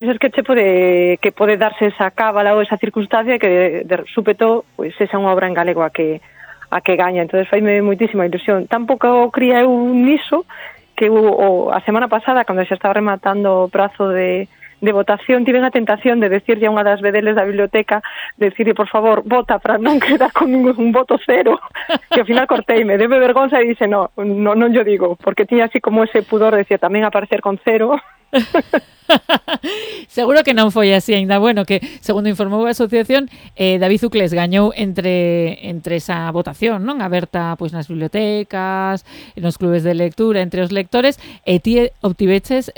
es que pode darse esa cábala ou esa circunstancia que de súpeto pois esa é unha obra en galego a que gaña, entonces faime moitísima ilusión. Tampouco cría eu niso que a semana pasada, cando xa estaba rematando o prazo de votación, tive a tentación de decirlle a unha das vedeles da biblioteca, decirle, por favor, vota para non quedar con un voto cero, que ao final corteime, debe vergonza e dixe, non yo digo, porque tiña así como ese pudor de decir, tamén aparecer con cero. Seguro que non foi así ainda. Bueno, que segundo informou a asociación, David Uclés gañou entre esa votación, non? Aberta pois nas bibliotecas, nos clubes de lectura, entre os lectores, e ti obtiveches,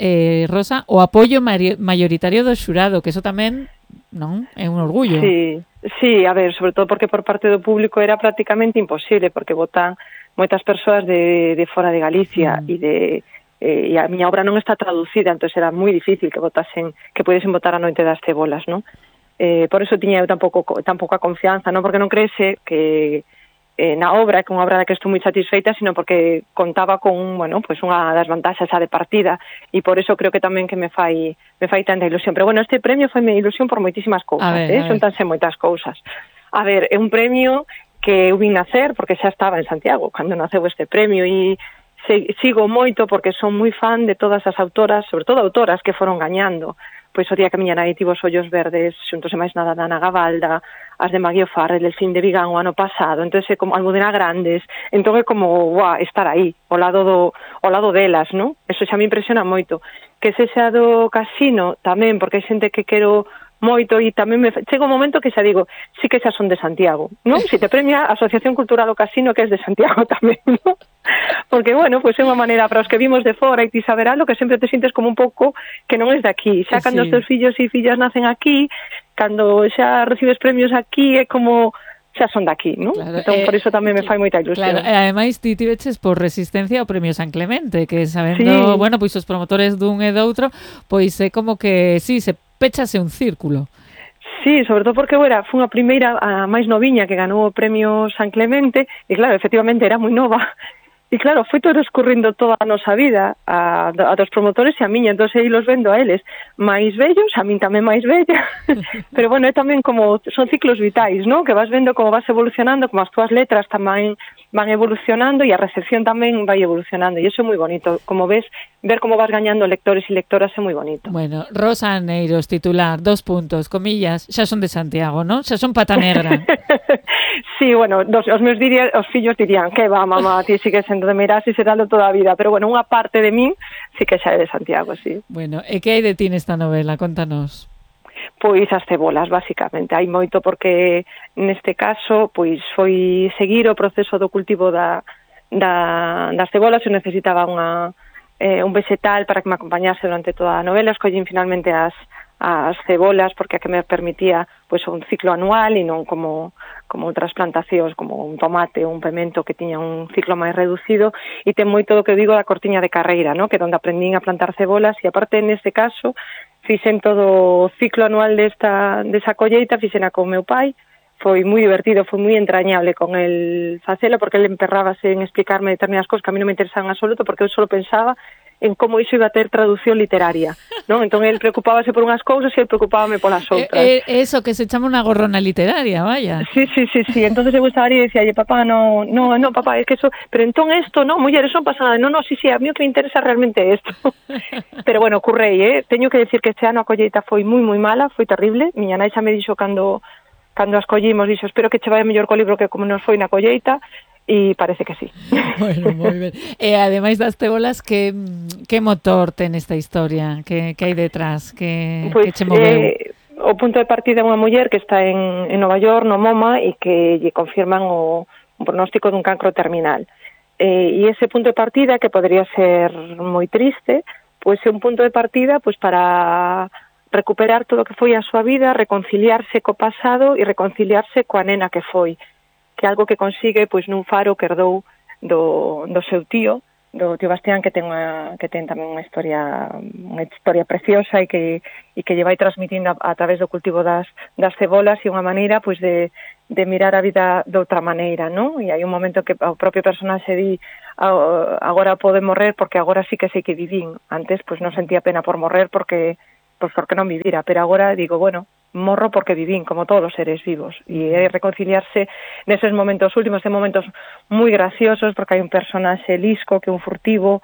Rosa, o apoio maioritario do xurado, que eso tamén, non? É un orgullo. Sí, a ver, sobre todo porque por parte do público era prácticamente imposible, porque votan moitas persoas de fora de Galicia e a miña obra non está traducida, entón era moi difícil que pudesen votar a Noite das Cebolas, non? Por eso tiña eu tan pouca confianza, non porque non creese que na obra, que unha obra da que estou moi satisfeita, sino porque contaba con, pues unha das vantaxes de partida, e por eso creo que tamén que me fai tanta ilusión. Pero bueno, este premio foi mi ilusión por moitísimas cousas, xuntanse moitas cousas. A ver, é un premio que eu vin nacer, porque xa estaba en Santiago cando naceu este premio, e sigo moito porque son moi fan de todas as autoras, sobre todo autoras que foron gañando. Pois o día que a miña nai tivo os ollos verdes, xuntos e máis nada da Ana Gavalda, as de Maggie O'Farrell, el fin de Vigán o ano pasado, entón é como Almudena Grandes, entón é como, estar aí, ao lado delas, non? Eso xa me impresiona moito. Que sexa do Casino tamén, porque hai xente que quero moito e tamén chega un momento que xa digo, sí que xa son de Santiago, non? Si te premia a Asociación Cultural do Casino, que é de Santiago tamén, non? Porque, pois é unha maneira para os que vimos de fora e ti saberalo que sempre te sintes como un pouco que non és de aquí. Xa cando os teus fillos e fillas nacen aquí, cando xa recibes premios aquí, é como xa son daqui, non? Claro, entón, por iso tamén me fai moita ilusión. Claro, e ademais ti tiveches por resistencia ao Premio San Clemente, que sabendo, pois os promotores dun e doutro, pois é como que, se péchase un círculo. Sí, sobre todo porque fui a primeira, a máis noviña que ganou o Premio San Clemente, e claro, efectivamente era moi nova, e claro, foi todo escurrindo toda a nosa vida, a dos promotores e a miña, entón aí los vendo a eles máis vellos, a min tamén máis bella, pero é tamén como, son ciclos vitais, non? Que vas vendo como vas evolucionando, como as túas letras tamén van evolucionando e a recepción tamén vai evolucionando, e iso é moi bonito, como ves, ver como vas gañando lectores e lectoras é moi bonito. Bueno, Rosa Aneiros, titular, 2 puntos, comillas, xa son de Santiago, non? Xa son pata negra. Sí, os meus os fillos dirían que va, mamá, ti sigues sendo de Meirás e seralo toda a vida, pero unha parte de min sí que xa é de Santiago, sí. Bueno, e que hai de ti nesta novela? Contanos. Pois as cebolas, basicamente. Hai moito porque neste caso pois foi seguir o proceso do cultivo das cebolas. Eu necesitaba un vegetal para que me acompañase durante toda a novela. Escollín finalmente as cebolas porque a que me permitía pois un ciclo anual e non como outras plantacións, como un tomate ou un pemento que tiña un ciclo máis reducido, e ten moito do que digo da cortiña de carreira, ¿no? Que é onde aprendín a plantar cebolas, e aparte neste caso fixen todo o ciclo anual desa colleita, fixena con meu pai. Foi moi divertido, foi moi entrañable con el facelo, porque ele emperrábase en explicarme determinadas cousas que a mí non me interesaban en absoluto, porque eu só pensaba en como iso iba a ter traducción literaria, non? Entón, el preocupábase por unhas cousas e el preocupábame polas outras. Eso, que se chama unha gorrona literaria, vaya. Sí. Entonces eu estaba ali e decía, papá, no, papá, es que eso... Pero entón esto, non, muller, eso non pasa nada. No, sí, a mí o que me interesa realmente é isto. Pero bueno, currei, Teño que decir que este ano a colleita foi moi, moi mala, foi terrible. Miña nai xa me dixo cando as collimos, dixo, espero que che vai mellor co libro que como nos foi na colleita. E parece que sí. Bueno, moi ben. E ademais das cebolas, que motor ten esta historia? Que hai detrás? Que che moveu? O punto de partida é unha muller que está en Nova York, no MoMA, e que lle confirman o pronóstico dun cancro terminal. E ese punto de partida, que podría ser moi triste, pois é un punto de partida pois para recuperar todo o que foi a súa vida, reconciliarse co pasado e reconciliarse coa nena que foi, que é algo que consigue pois nun faro que herdou do seu tío, do tío Bastián, que ten tamén unha historia preciosa e que lle vai transmitindo a través do cultivo das cebolas, e unha maneira pois de mirar a vida de outra maneira, non? E hai un momento que o propio personaxe di, agora pode morrer porque agora sí que sei que vivín. Antes pois non sentía pena por morrer porque pois por que non vivira, pero agora digo, bueno, morro porque vivín, como todos os seres vivos, e é reconciliarse neses momentos últimos, de momentos moi graciosos, porque hai un personaxe lisco que é un furtivo,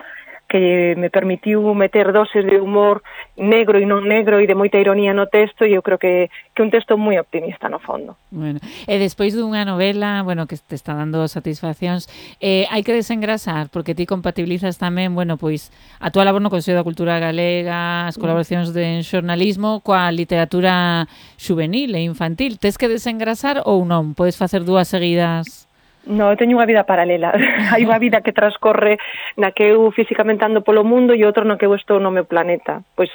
que me permitiu meter doses de humor negro e non negro e de moita ironía no texto, e eu creo que é un texto moi optimista no fondo. Bueno, e despois dunha novela, bueno, que te está dando satisfaccións, hai que desengrasar, porque ti compatibilizas tamén, bueno, pois a túa labor no Consello da Cultura Galega, as colaboracións de xornalismo coa literatura xuvenil e infantil. Tes que desengrasar ou non? Podes facer dúas seguidas? No, eu teño unha vida paralela. Hai unha vida que transcorre na que eu físicamente ando polo mundo e outra no que eu estou no meu planeta. Pois,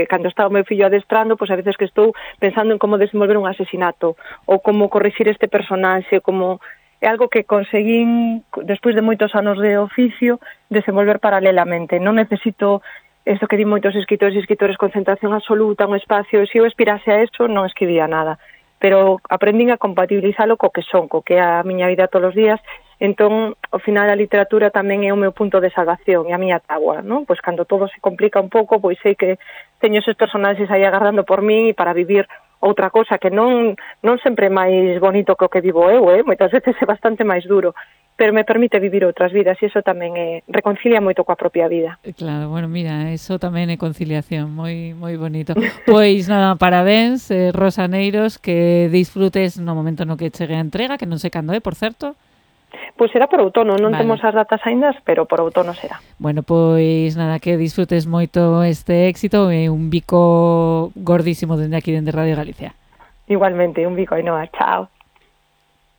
cando está o meu fillo adestrando, pois a veces que estou pensando en como desenvolver un asesinato ou como corrixir este personaxe, como é algo que conseguín, despois de moitos anos de oficio, desenvolver paralelamente. Non necesito isto que di moitos escritores e escritores, concentración absoluta, un espacio. Se eu aspirase a eso, non escribía nada. Pero aprendín a compatibilizalo co que son, co que é a miña vida todos os días. Entón, ao final, a literatura tamén é o meu punto de salvación e a miña táboa, non? Pois cando todo se complica un pouco, pois sei que teño esos personaxes aí agardando por mí para vivir outra cosa que non sempre é máis bonito que o que vivo eu, moitas veces é bastante máis duro, pero me permite vivir outras vidas e iso tamén reconcilia moito coa propia vida. Claro, bueno, mira, eso tamén é conciliación, moi bonito. Pois nada, parabéns, Rosa Neiros, que disfrutes no momento no que chegue a entrega, que non sei cando é, por certo. Pois será por outono, non temos as datas aínda, pero por outono será. Bueno, pois nada, que disfrutes moito este éxito e un bico gordísimo dende aquí, dende Radio Galicia. Igualmente, un bico, Ainhoa, chao.